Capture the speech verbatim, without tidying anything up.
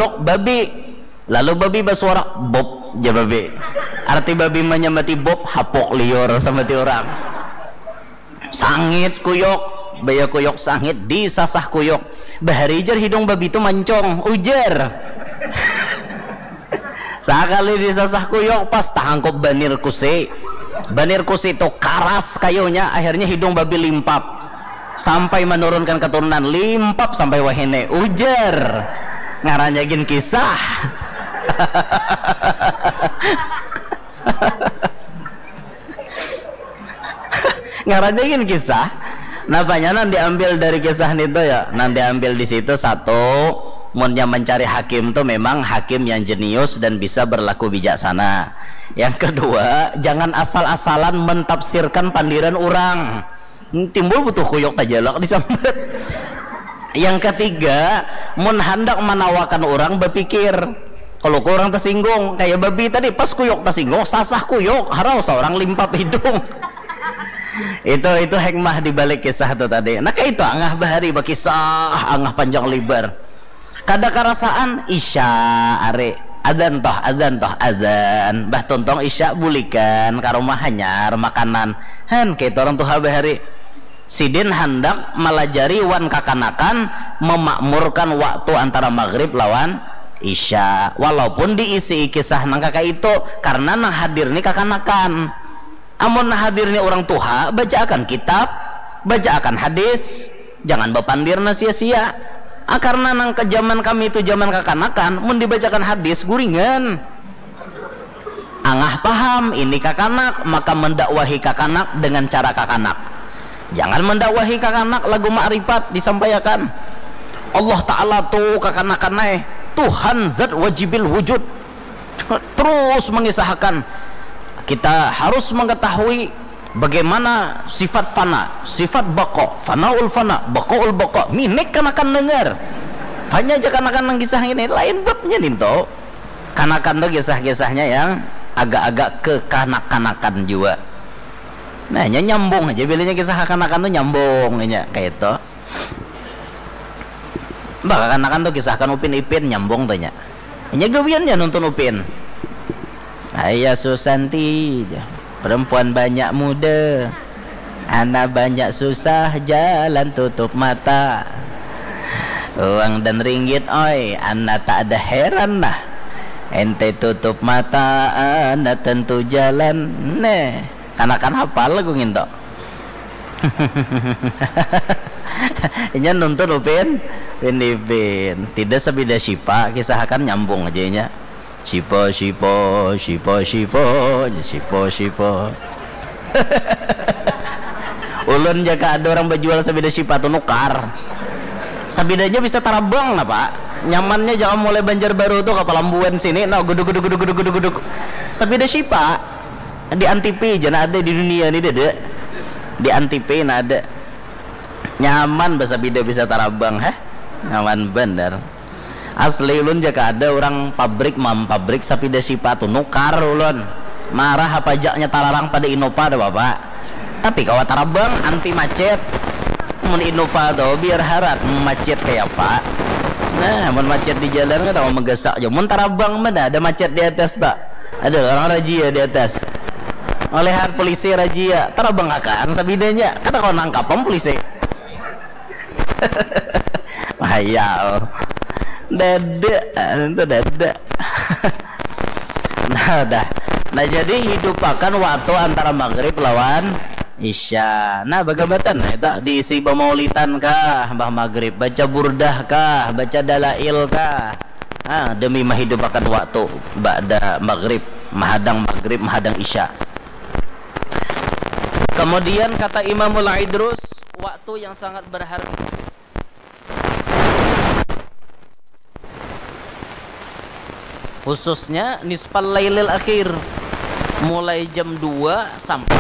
Tok babi. Lalu babi basuara, "Bob," ja babi. Arti babi manyamati bob, hapuk liur samati urang. Sangit kuyuk, baya kuyuk sangit, disasah kuyuk. Bahari jar hidung babi tu mancong, ujar. Sakali disasah kuyuk, pas tahangkup banir kusi. Banir kusi tu karas kayunya, akhirnya hidung babi limpap. Sampai menurunkan keturunan, limpap sampai wahini, ujar. Ngarannya gin kisah. Ngarannya gin kisah. Napanya nang diambil dari kisah nitu ya? Nang diambil di situ satu, munnya mencari hakim tu memang hakim yang jenius dan bisa berlaku bijaksana. Yang kedua, jangan asal-asalan mentafsirkan pandiran urang. Timbul butuh kuyuk tajalak disambat. Yang ketiga, mun handak manawakan urang bapikir. Kalau ku urang tasinggung, kaya babi tadi pas kuyuk tasinggung, sasah kuyuk, harau saurang limpap hidung. Itu itu hikmah di balik kisah tu tadi. Nah, kaitu angah bahari bakisah, angah panjang libar. Kada karasaan isya ari. Adzan toh, adzan toh, adzan. Bah tuntong isya bulikan ka rumah hanyar makanan. Han, kaitu urang tuha bahari. Sidin handak malajari wan kakanakan memakmurkan waktu antara maghrib lawan isya. Walaupun diisi kisah nang kaka itu, karena nang hadir ni kakanakan. Amun hadirnya urang tuha, bacaakan kitab, bacaakan hadis, jangan bapandir nang sia-sia. Ah, karna nang ka jaman kami tu jaman kakanakan, mun dibacakan hadis, guringan. Angah paham, ini kakanak, maka mendakwahi kakanak dengan cara kakanak. Jangan mendakwahi kakanak lagu makrifat disampaiakan. Allah Ta'ala tu kakanakan ai, Tuhan zat wajibil wujud. Terus mengisahkan, kita harus mengetahui bagaimana sifat fana, sifat bako, fanaul fana, bakoul bako. Minik kanakan dengar. Hanya aja kanakan nang kisah ini, lain babnya ninto. Kanakan tu kisah-kisahnya yang agak-agak kekanak-kanakan jua. Nah, nya nyambung aja, bilanya kisah kakanakan tu nyambung aja, kayak itu. Bah, kakanakan tu kisahkan Upin Ipin, nyambung tu nya. Inya gawiannya nuntun Upin. Ayah Susanti, jar. Perempuan banyak muda. Ana banyak susah, jalan tutup mata. Uang dan ringgit, oi, ana tak ada heran nah. Ente tutup mata, ana tentu jalan. Neh, kanakan hafal lagu nginto. Inya nuntun Upin, Upin Ipin. Tidak sabida sipa, kisahakan nyambung aja inya. Sipa, sipa, sipa, sipa, sipa, sipa. Ulun jaka ada orang bajual sabida sipa tu nukar. Sabidanya bisa tarabang napa? Nyamannya jaka mulai Banjarbaru tu ka Palambuan sini, nah, guduk, guduk, guduk, guduk, guduk, guduk. Sabida sipa. Di Antipi jana ada di dunia ni, dada. Di Antipi na ada. Nyaman basapida bisa tarabang, heh. Nyaman banar. Asli ulun jaka ada urang pabrik mampabrik sapida sipa tu nukar ulun. Marah ha pajaknya talarang pada Innova dah, Bapak. Tapi kawa tarabang, anti macet. Mun Innova tu biar harat macet kaya apa. Nah, mun macet di jalan kada kawa magasak jua. Mun tarabang mana ada macet di atas tak? Ada orang razia di atas. Malihat polisi razia, tarabang akan sabidanya. Kada kawa nangkap am polisi. Bahaya. Dada, itu dada. Nah, dah. Nah, jadi hidupakan waktu antara maghrib lawan isya. Nah, bagambatan, nah, itu diisi bamaulitan kah, bah maghrib, baca burdah kah, baca dalail kah. Ah, demi mahidupakan waktu ba'da maghrib, mahadang maghrib, mahadang isya. Kemudian kata Imamul Idrus, waktu yang sangat berharga. Khususnya nisfal lailil akhir, mulai jam dua sampai